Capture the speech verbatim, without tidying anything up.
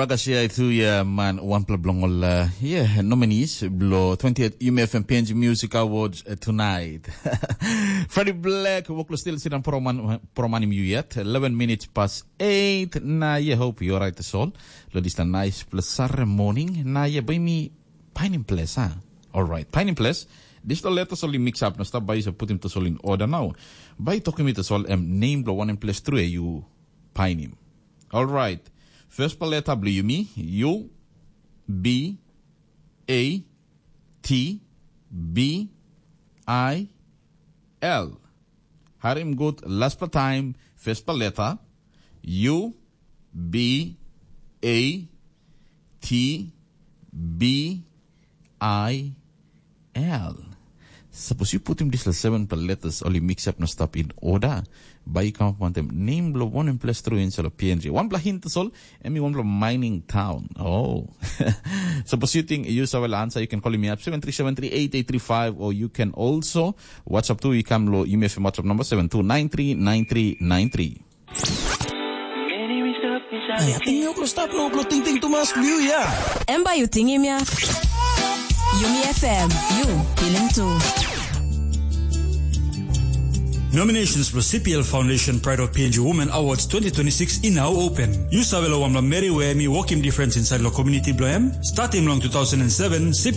Pagasia itu ya man wanpela bilong ol uh, yeah, nominees below twentieth U M F M P N G Music Awards uh, tonight. Freddie Black, wok lo still sidang proman promanim you yet. Eleven minutes past eight. Na yeah, hope you alright as all. Lo this nice plus Saturday morning. Na yeah, by me pining place, huh? All right, pining place. This the letters only mix up. Na stop by so put him to all in order now. By talking with us all, um, name lo one in place through you pining. All right. First paleta blo yumi, U, B, A, T, B, I, L. Harim gut, last pa time, first paleta, U, B, A, T, B, I, L. Sapos yu putim dispela seven pla letters ol i mix up na stap in order, bai yu kamap wantaim nem bilong wanem ples tru insait long P N G. Wanpela hint tasol, em i wanpela mining town. Oh. Sapos yu ting yu save la answer, you can call me up seven three seven three eight eight three five, or you can also WhatsApp tu, i kam lo email FM WhatsApp number seven two nine three nine three nine three. Ai, ating mi oklo stap no oklo tingting tumas liu ya. Em bai yu tingim ya. Yumi F M, yu pilim tu. Nominations for C P L Foundation Pride of P N G Women Awards twenty twenty-six i now open. Yu save lo wanpela meri we em i wokim difference inside lo community blo em? Starting long two thousand seven, C P L